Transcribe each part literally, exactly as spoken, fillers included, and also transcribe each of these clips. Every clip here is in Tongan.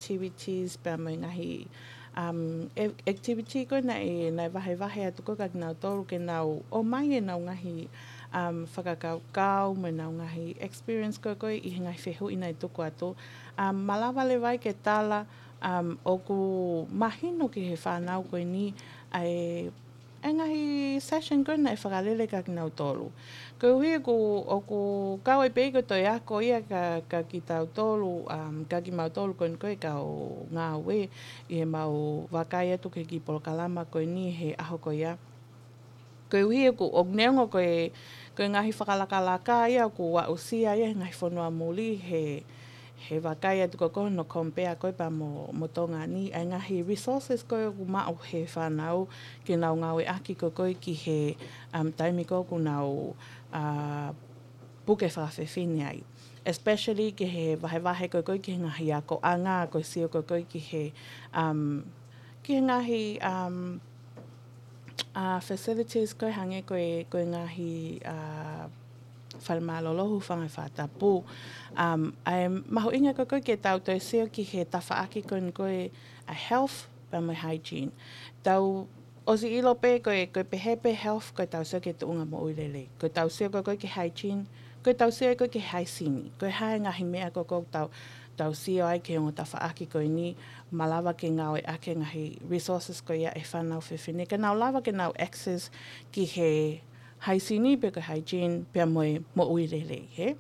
activities pea mo e ngaahi um, e- activity ko ē naʻe, naʻe vahevahe atu ko ē kia kinautolu ke nau ʻomai ʻenau ngaahi um, fakakaukau mo ʻenau ngaahi experience ko ē ko ē ʻi he ngaahi fehuʻi naʻe tuku atu. Um, malava leva ai ke tala um, ʻoku mahino ki he fānau ko eni ʻa e ʻa e ngaahi session ko ē naʻe fakalele kia kinautolu. Koeʻuhi ʻoku, ʻoku kau ai pē ko e toe ako ia kia, kia kitautolu, um, kia kimautolu ko eni ko ē kau ngāue ʻi heʻemau vakai atu ki he kiʻi polokalama ko eni he ʻaho ko ia. Koeʻuhi ʻoku, ʻoku neongo ko e, ko e ngaahi fakalakalaka ia ʻoku aʻusia ia he ngaahi fonua muli he he vakai atu ko ē ko hono compare ko ē pea mo, mo Tonga ni, ʻa e ngaahi resources ko ē ʻoku maʻu he fānau ke nau ngāueʻaki ko ē ko ē ki he um, taimi ko ē ʻoku nau uh, puke fakafefine ai. Especially ki he vahevahe ko ē ko ē ki he ngaahi akoʻanga ko e sio ko ē ko ē ki he, um, ki he ngaahi um, uh, facilities ko ē hangē ko e, ko e ngaahi uh, fale mālōlō, hūfanga he fakatapu. Um, ʻa e mahuʻinga ko ē ko ē ke tau toe sio ki he tafaʻaki ko eni ko ē ʻa e health pea mo e hygiene. Tau ʻosi ʻilo pē ko e, ko e pehē pē health ko ʻetau sio ki he tuʻunga moʻui lelei. Ko ʻetau sio ko ē ko ē ki he hygiene, ko ʻetau sio ko ē ki he haisini. Ko e hā e ngaahi meʻa ko ē ko ē tau, tau sio ai ki he ongo tafaʻaki ko eni, malava ke ngāueʻaki e ngaahi resources ko ia ʻa e fānau fefine. Ke nau lava ke nau access ki he haisini pe ko e hygiene pea mo e moʻui lelei, hē?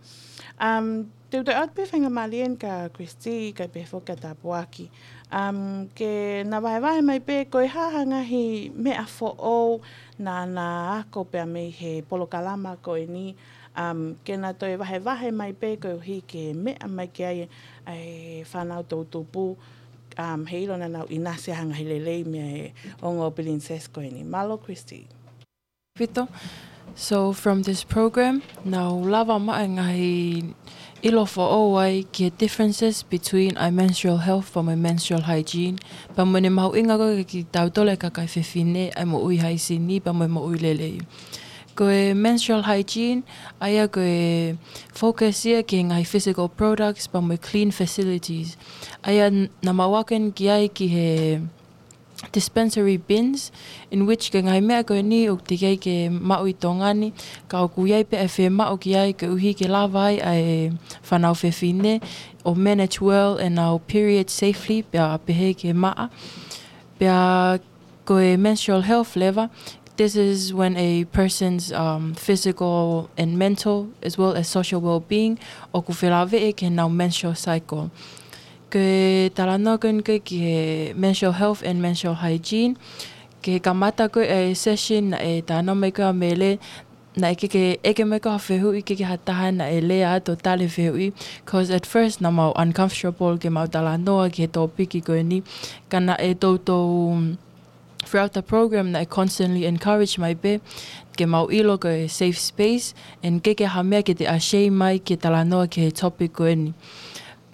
Um, te u toe ʻoatu pē faingamālie eni kia Christy, kae pehē foki kia Tāpuaki. Um, ke na vahevahe mai pē ko e hā ha ngaahi meʻa foʻou naʻa na ako pea mei he polokalama ko eni, um, ke na toe vahevahe mai pē koeʻuhi ke meʻa mai ki ai ʻa e fānau toʻutupu, um, heiʻilo naʻa nau ʻinasi ha ngaahi lelei mei he ongo pilinisesi ko eni. Mālō Christy. Pito. So from this program, naʻá ku lava maʻu e ngaahi ʻilo foʻou ai ki he differences between ʻa e menstrual health pea mo e menstrual hygiene, pea mo ʻene mahuʻinga ko ē kia kitautolu e kakai fefine ʻa e moʻui haisini pea mo e moʻui lelei. Ko e menstrual hygiene, ʻa ia ko e focus ia ki he ngaahi physical products pea mo e clean facilities. ʻA ia naʻa mau ako eni ki ai ki he dispensary bins, in which ko e ngaahi meʻa ko eni ʻoku teʻeki ai ke maʻu ʻi Tonga ni, ka ʻoku ʻi ai pē ʻa e fiemaʻu ki ai koeʻuhi ke lava ai ʻa e fānau fefine ʻo manage well ʻenau period safely, pea pehē ki he maʻa. Pea ko e menstrual health leva, this is when a person's um, physical and mental as well as social well-being ʻoku felāveʻi ki heʻenau menstrual cycle. Ko e talanoa ko eni ko ē ki he menstrual health and menstrual hygiene, ke kamata ko ē e session naʻe talanoa mai ko ē ʻa Mele, naʻe ʻikai ke ʻeke mai ko ē ha fehuʻi, ʻikai ke ha taha naʻe lea atu ʻo tali e fehuʻi, 'cause at first naʻa mau uncomfortable ke mau talanoa ki he tōpiki ko eni, ka naʻe toutou, um, throughout the program naʻe constantly encourage mai pē ke mau ʻilo ko e safe space, and ʻikai ke ha meʻa ke te ashamed ai ke talanoa ki he topic ko eni.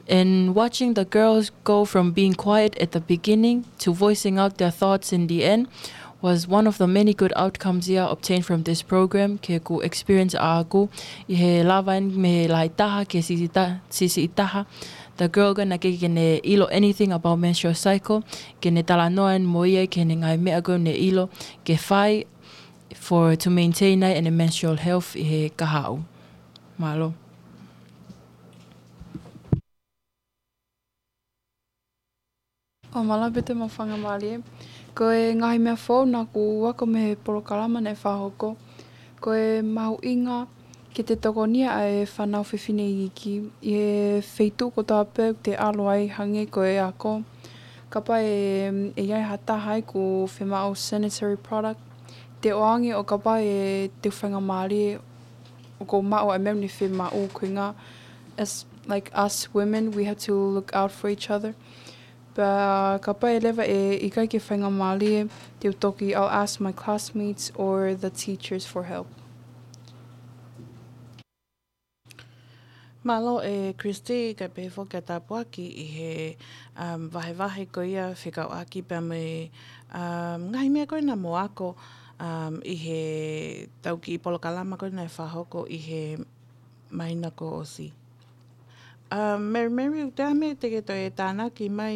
And watching the girls go from being quiet at the beginning to voicing out their thoughts in the end was one of the many good outcomes ia obtained from this program, ki heʻeku experience ʻaʻaku, ʻi he lava eni mei he lahi taha ki he siʻisiʻi ta-, siʻisiʻi taha. The girl ko ē naʻe ʻikai ke ne ʻilo anything about menstrual cycle, ke ne talanoa eni mo ia ki heʻene ngaahi meʻa ko ē naʻá ne ʻilo ke fai for, to maintain ai ʻene menstrual health ʻi he kahaʻu. Mālō. ʻO mālō Pito mo e faingamālie. Ko e ngaahi meʻa foʻou naʻá ku ako mei he polokalama naʻe fakahoko, ko e mahuʻinga ke te tokonia ʻa e fānau fefine iiki ʻi he feituʻu kotoa pē ʻoku te ʻalu ai, hangē ko e ako. Kapau ʻe, ʻe ʻi ai ha taha ai ʻoku fiemaʻu sanitary product, te ʻoange, ʻo kapau ʻe te faingamālie ʻoku maʻu ʻa e meʻa naʻe fiemaʻu, ko e ʻuhinga, as, like, us women, we have to look out for each other. Pea kapau leva ʻe ʻikai ke faingamālie, te u toki, I'll ask my classmates or the teachers for help. Mālō ʻe Christy, kae pehē foki kia Tāpuaki ʻi he, um, vahevahe ko ia fekauʻaki pea mo e, um, ngaahi meʻa ko ē naʻa mo ako, um, ʻi heʻetau kiʻi polokalama ko ē naʻe fakahoko ʻi he māhina kuo ʻosi. Um, Mary Mary, ʻoku ʻi ai ha meʻa te ke toe tānaki mai